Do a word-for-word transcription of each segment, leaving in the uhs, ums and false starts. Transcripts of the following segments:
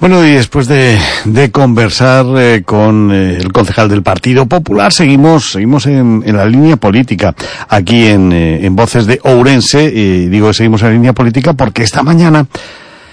Bueno, y después de, de conversar eh, con eh, el concejal del Partido Popular, seguimos seguimos en, en la línea política, aquí en, eh, en Voces de Ourense, y digo que seguimos en la línea política porque esta mañana,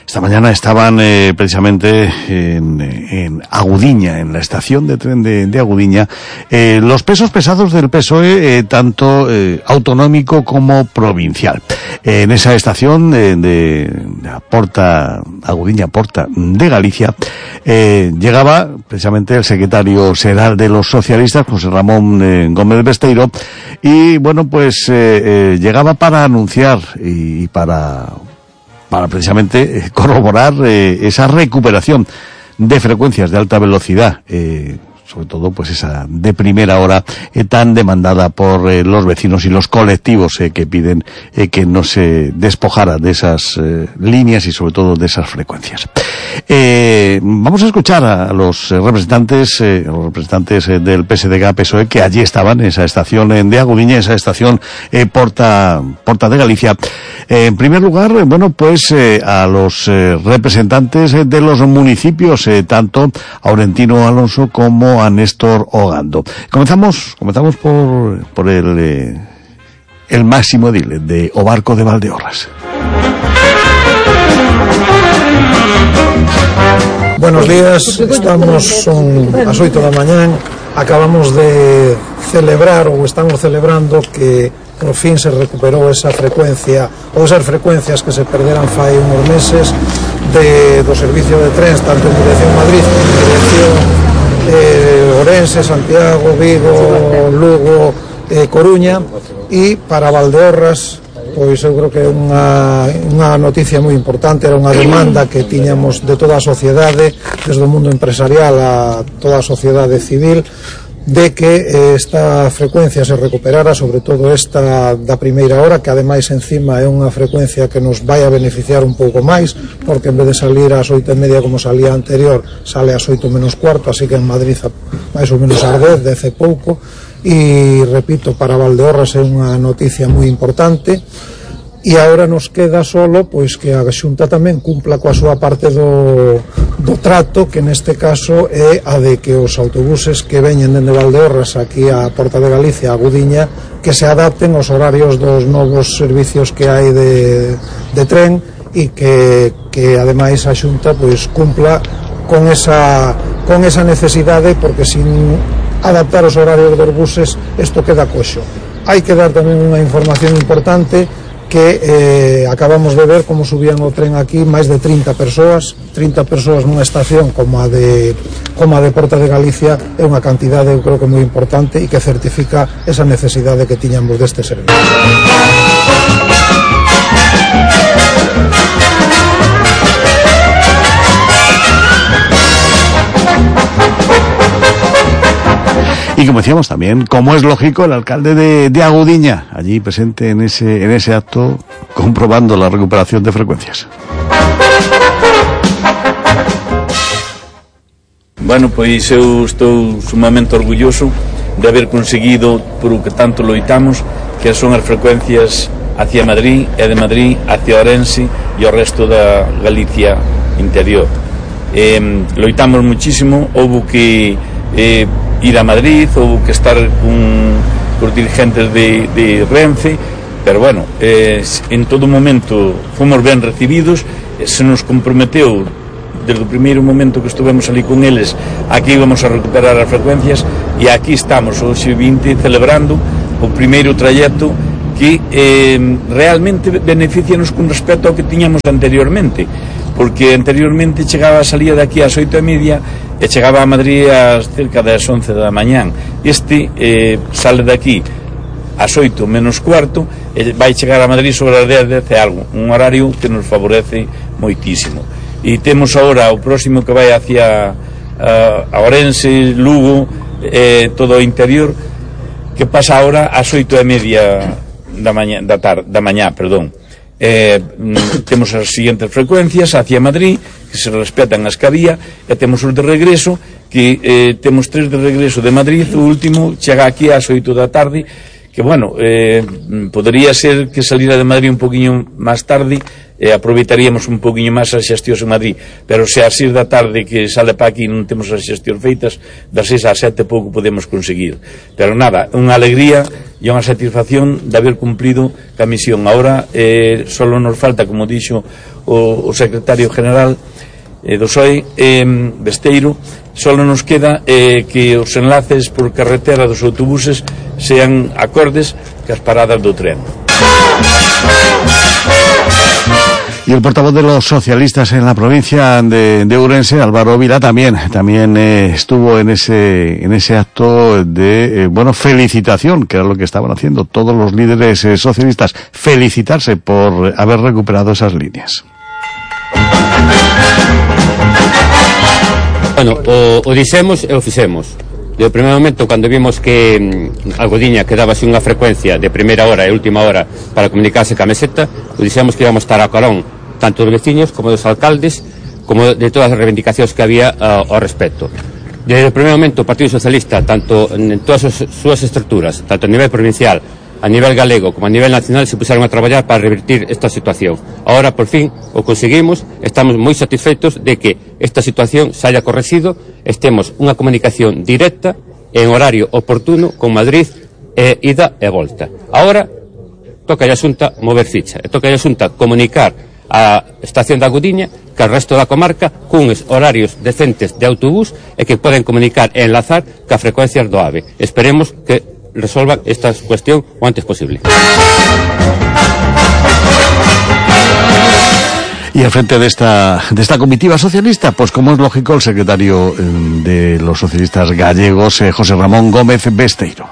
esta mañana estaban eh, precisamente en, en Agudiña, en la estación de tren de, de Agudiña, eh, los pesos pesados del P S O E, eh, tanto eh, autonómico como provincial. Eh, en esa estación eh, de, de Porta, Agudiña, Porta de Galicia, eh, llegaba precisamente el secretario xeral de los socialistas, José Ramón eh, Gómez Besteiro, y bueno, pues eh, eh, llegaba para anunciar y, y para... para precisamente corroborar eh, esa recuperación de frecuencias de alta velocidad, eh, sobre todo pues esa de primera hora eh, tan demandada por eh, los vecinos y los colectivos eh, que piden eh, que no se despojara de esas eh, líneas y sobre todo de esas frecuencias. Eh, vamos a escuchar a los eh, representantes, eh, los representantes eh, del P S D G P S O E que allí estaban en esa estación eh, de Agudiña, esa estación eh, Porta, Porta de Galicia. Eh, en primer lugar, eh, bueno, pues eh, a los eh, representantes eh, de los municipios, eh, tanto a Aurentino Alonso como a Néstor Ogando. Comenzamos, comenzamos por, por el, eh, el máximo edil de O Barco de Valdeorras. Buenos días, estamos son as oito da mañán, acabamos de celebrar ou estamos celebrando que por fin se recuperou esa frecuencia ou esas frecuencias que se perderan fai uns meses de, do servicio de trens tanto en dirección Madrid como en dirección eh, Ourense, Santiago, Vigo, Lugo, eh, Coruña, e para Valdeorras pois eu creo que é unha, unha noticia moi importante, era unha demanda que tiñamos de toda a sociedade, desde o mundo empresarial a toda a sociedade civil, de que eh, esta frecuencia se recuperara, sobre todo esta da primeira hora, que ademais encima é unha frecuencia que nos vai a beneficiar un pouco máis, porque en vez de salir ás oito e media como salía anterior, sale ás oito menos cuarto, así que en Madrid máis ou menos ás dez, dez e pouco. E repito, para Valdeorras é unha noticia moi importante, e agora nos queda solo pois que a Xunta tamén cumpla coa súa parte do, do trato, que neste caso é a de que os autobuses que veñen dende Valdeorras aquí a Porta de Galicia, a Agudiña, que se adapten aos horarios dos novos servicios que hai de, de tren, e que, que ademais a Xunta pois cumpla con esa, con esa necesidade, porque sin adaptar os horarios dos buses isto queda coxo. Hai que dar tamén unha información importante, que eh, acabamos de ver como subían o tren aquí máis de trinta persoas trinta persoas nunha estación como a de como a de Porta de Galicia é unha cantidade, eu creo que moi importante, e que certifica esa necesidade que tiñamos deste servicio. Y como decíamos también, como es lógico, el alcalde de, de Agudiña, allí presente en ese, en ese acto, comprobando la recuperación de frecuencias. Bueno, pois eu estou sumamente orgulloso de haber conseguido, por o que tanto loitamos, que son as frecuencias hacia Madrid e de Madrid hacia Ourense e o resto da Galicia interior. Eh, loitamos muchísimo, houve que eh, ir a Madrid, houve que estar con os dirigentes de, de Renfe, pero bueno, eh, en todo momento fomos ben recibidos, se nos comprometeu desde o primeiro momento que estuvemos ali con eles a que íbamos a recuperar as frecuencias, e aquí estamos hoxe vinte celebrando o primeiro trayecto que eh, realmente beneficianos con respecto ao que tiñamos anteriormente, porque anteriormente chegaba, salía de aquí ás oito e media e chegaba a Madrid ás cerca das once da mañán. Este eh, sale de aquí ás oito menos cuarto e vai chegar a Madrid sobre as dez, dez e algo, un horario que nos favorece moitísimo. E temos agora o próximo que vai hacia uh, a Ourense, Lugo, eh, todo o interior, que pasa agora ás oito e media da mañá, da tarde, da mañá, perdón. Eh, temos as seguintes frecuencias hacia Madrid, que se respetan as que había, e temos os de regreso, que eh, temos tres de regreso de Madrid, o último chega aquí ás oito da tarde, que bueno, eh, podría ser que saliera de Madrid un poquinho máis tarde, eh, aproveitaríamos un poquinho máis as xestións en Madrid, pero se ás seis da tarde que sale para aquí non temos as xestións feitas, das seis ás sete pouco podemos conseguir, pero nada, unha alegría e unha satisfacción de haber cumplido a misión. Ahora eh, solo nos falta, como dixo o, o secretario general eh, do P S O E, eh, Besteiro, solo nos queda eh, que os enlaces por carretera dos autobuses sean acordes cas paradas do tren. Y el portavoz de los socialistas en la provincia de, de Ourense, Álvaro Vila, también, también eh, estuvo en ese, en ese acto de, eh, bueno, felicitación, que era lo que estaban haciendo todos los líderes eh, socialistas, felicitarse por haber recuperado esas líneas. Bueno, o, o dixemos e o fixemos. De primeiro momento, cando vimos que mm, a Gudiña quedaba sin unha frecuencia de primeira hora e última hora para comunicarse ca meseta, o dixemos que íbamos estar a carón tanto dos veciños como dos alcaldes, como de todas as reivindicacións que había uh, ao respecto. Desde o primeiro momento, o Partido Socialista, tanto en todas as súas estruturas, tanto a nivel provincial, a nivel galego como a nivel nacional, se puseron a traballar para revertir esta situación. Ahora, por fin, o conseguimos, estamos moi satisfeitos de que esta situación se haya corregido, estemos unha comunicación directa en horario oportuno con Madrid, e ida e volta. Ahora, toca a Xunta mover ficha, e toca a Xunta comunicar a estación da Gudiña que o resto da comarca cuns horarios decentes de autobús e que poden comunicar e enlazar ca frecuencias do AVE. Esperemos que resolvan esta cuestión o antes posible. Y al frente de esta de esta comitiva socialista, pues como es lógico, el secretario de los socialistas gallegos, eh, José Ramón Gómez Besteiro.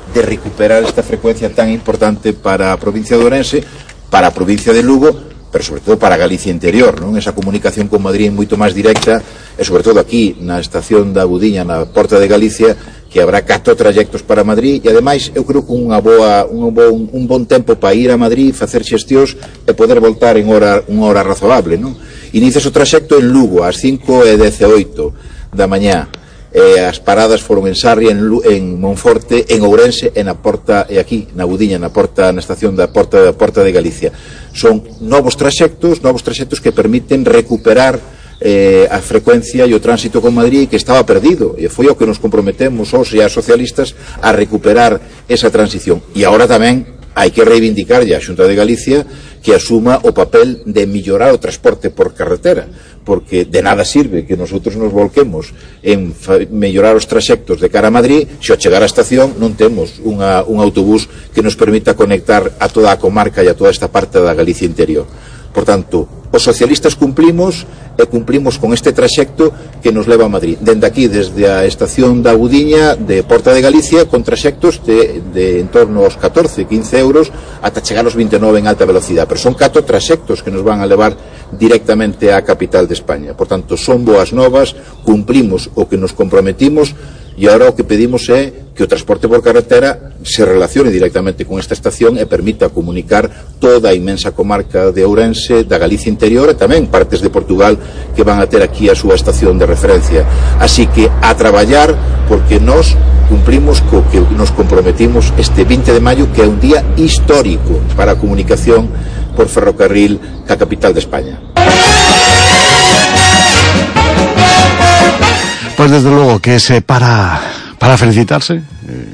De recuperar esta frecuencia tan importante para a provincia de Ourense, para a provincia de Lugo, pero sobre todo para Galicia interior, non? Esa comunicación con Madrid é moito máis directa, e sobre todo aquí na estación da Gudiña, na Porta de Galicia, que habrá catro trayectos para Madrid, e ademais eu creo que unha boa, un, bon, un bon tempo para ir a Madrid, facer xestións e poder voltar en hora, unha hora razonable, non? Inicias o traxecto en Lugo ás cinco e dezaoito da mañá, e as paradas foron en Sarria, en, en Monforte, en Ourense e na Porta, e aquí na Gudiña, na Porta, na estación da Porta, da Porta de Galicia. Son novos traxectos, novos traxectos que permiten recuperar eh, a frecuencia e o tránsito con Madrid que estaba perdido, e foi o que nos comprometemos os e as socialistas a recuperar esa transición. E agora tamén hai que reivindicar a Xunta de Galicia que asuma o papel de mellorar o transporte por carretera, porque de nada sirve que nosotros nos volquemos en mellorar os traxectos de cara a Madrid se ao chegar á estación non temos unha, un autobús que nos permita conectar a toda a comarca e a toda esta parte da Galicia interior. Por tanto, os socialistas cumplimos e cumplimos con este traxecto que nos leva a Madrid. Dende aquí, desde a estación da Gudiña de Porta de Galicia, con traxectos de, de en torno aos catorce, quince euros ata chegar aos vinte e nove en alta velocidade. Pero son catro traxectos que nos van a levar directamente á capital de España. Por tanto, son boas novas, cumplimos o que nos comprometimos, e agora o que pedimos é que o transporte por carretera se relacione directamente con esta estación e permita comunicar toda a inmensa comarca de Ourense, da Galicia interior e tamén partes de Portugal que van a ter aquí a súa estación de referencia. Así que a traballar, porque nós cumplimos co que nos comprometimos este vinte de maio, que é un día histórico para a comunicación por ferrocarril ca capital de España. Pues desde luego que es eh, para, para felicitarse, eh,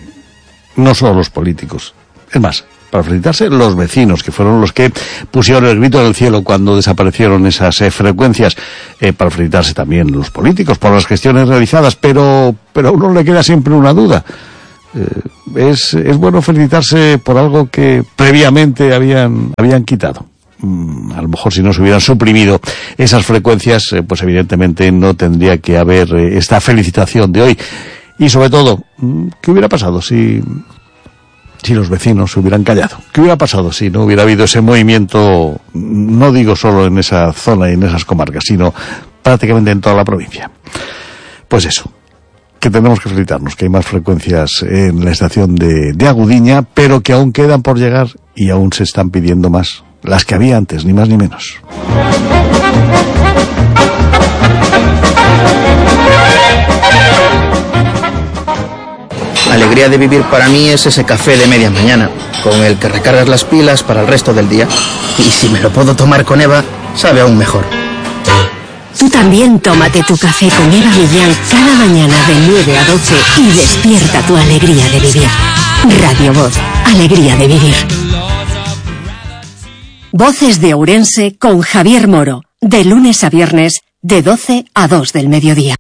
no solo los políticos, es más, para felicitarse los vecinos, que fueron los que pusieron el grito en el cielo cuando desaparecieron esas eh, frecuencias, eh, para felicitarse también los políticos por las gestiones realizadas, pero, pero a uno le queda siempre una duda. Eh, es, es bueno felicitarse por algo que previamente habían, habían quitado. A lo mejor si no se hubieran suprimido esas frecuencias, eh, pues evidentemente no tendría que haber eh, esta felicitación de hoy. Y sobre todo, ¿qué hubiera pasado si, si los vecinos se hubieran callado? ¿Qué hubiera pasado si no hubiera habido ese movimiento, no digo solo en esa zona y en esas comarcas, sino prácticamente en toda la provincia? Pues eso, que tenemos que felicitarnos, que hay más frecuencias en la estación de, de Agudiña, pero que aún quedan por llegar y aún se están pidiendo más. Las que había antes, ni más ni menos. alegría de vivir para mí es ese café de media mañana, con el que recargas las pilas para el resto del día. Y si me lo puedo tomar con Eva, sabe aún mejor. Tú también tómate tu café con Eva Millán cada mañana de nueve a doce y despierta tu alegría de vivir. Radio Voz, alegría de vivir. Voces de Ourense con Javier Moro, de lunes a viernes, de doce a dos del mediodía.